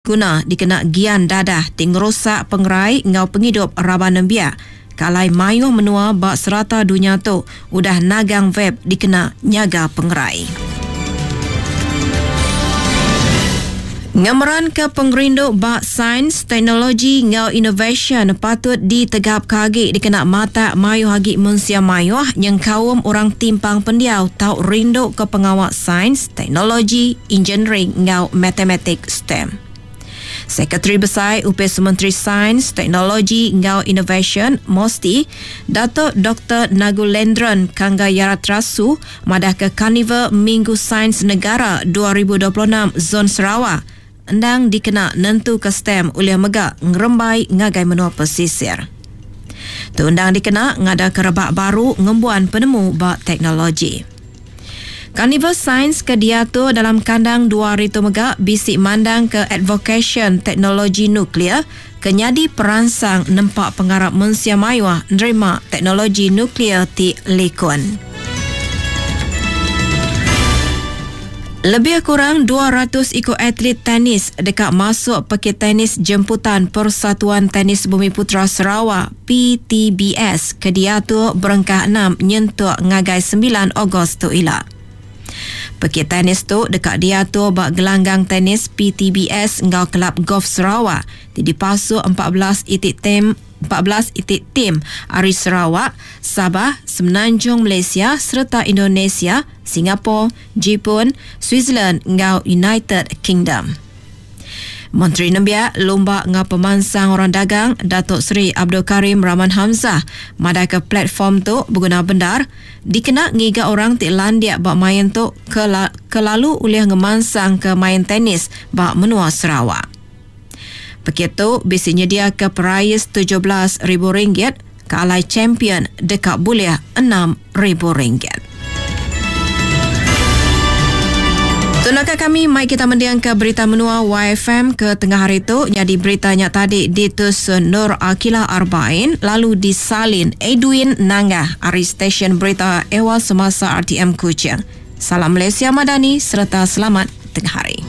Guna dikena gian dadah ti ngerusak pengerai enggau pengidup raban nembiak ke alai mayuh menua ba serata dunya tu udah nagang vape dikena nyaga pengerai. Ngemeranka pengerindu ba sains, teknologi enggau inovasyen patut ditegapka agi dikena matak mayuh agi mensia mayuh nyengkaum orang timpang pendiau tau rinduka pengawa sains, teknologi, injiniring enggau matematik STEM. Sekretari Besai Opis Menteri Sains, Teknologi enggau Inovasyen, MOSTI, Datuk Doktor Nagulendran Kangayaratrasu madahka Karnival Minggu Sains Negara 2026 Zon Sarawak endang dikena nentuka STEM ulih mega ngerembai ngagai menua pesisir. Tu endang dikena ngadaka rebak baru ngembuan penemu ba teknologi. Karnival Sains ke diatur dalam kandang dua hari tu mega bisi mandangka advokasyen teknologi nuklear ke nyadi peransang nempa pengarap mensia mayuh nerima teknologi nuklear ti likun. Lebih kurang 200 iku atlet tenis deka masuk pekit tenis jemputan Persatuan Tenis Bumiputera Sarawak, PTBS, ke diatur berengkah enam nyentuk ngagai semilan Ogos tu ila. Pekit tenis tu deka diatur ba Gelanggang Tenis PTBS enggau Kelab Golf Sarawak ti dipasuk 14 iti tem 14 iti tim ari Sarawak, Sabah, Semenanjung Malaysia sereta Indonesia, Singapore, Jipun, Switzerland enggau United Kingdom. Menteri Nembiak, Lumba enggau Pemansang Orang Dagang, Datuk Seri Abdul Karim Rahman Hamzah madahka platform tu beguna bendar dikena ngiga orang ti landik ba main tu ke ke lalu ulih ngemansangka main tenis ba menua Sarawak. Pekit tu bisi nyediaka perais 17 ribu ringgit ke alai champion deka bulih 6 ribu ringgit. Tu naka kami mai kita mendingka berita menua YFM ke tengah hari tu nyadi berita nya tadi ditusun Nur Akila Arbain lalu disalin Edwin Nanggah ari stesen berita Ewa Semasa RTM Kuching. Salam Malaysia Madani sereta selamat tengah hari.